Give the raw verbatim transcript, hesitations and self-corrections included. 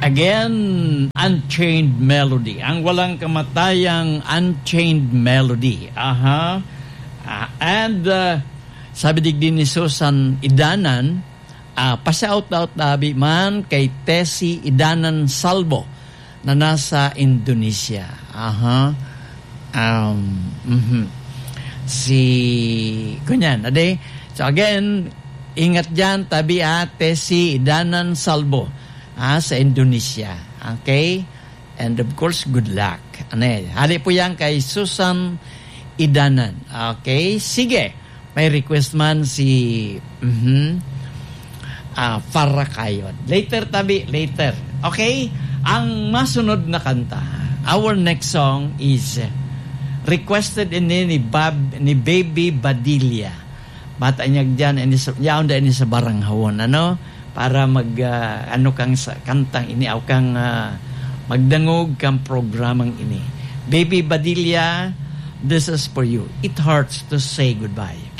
Again, Unchained Melody. Ang walang kamatayang Unchained Melody. Aha. Ah, and, ah, sabi digdi ni Susan Idanan, ah, pa-shout out tabi man kay Tessie Idanan Salvo na nasa Indonesia. Aha. Um, mhm. Si, kunyan, ade. So again, ingat dyan, tabi, ah, Tessie Idanan Salvo, ah, sa Indonesia. Okay? And of course, good luck. Ano eh, hali po yan kay Susan Idanan. Okay? Sige. May request man si, mhm, ah, Farah Kayod. Later, tabi, later. Okay? Ang masunod na kanta, our next song is requested ini ni Bab-, ni Baby Badilla. Bata niya dyan, ini sa, yaon da ini sa Baranghawon, ano? Para mag, ah, ano kang sa kantang ini, aw kang, ah, magdangog kang programang ini. Baby Badilla, this is for you. It hurts to say goodbye.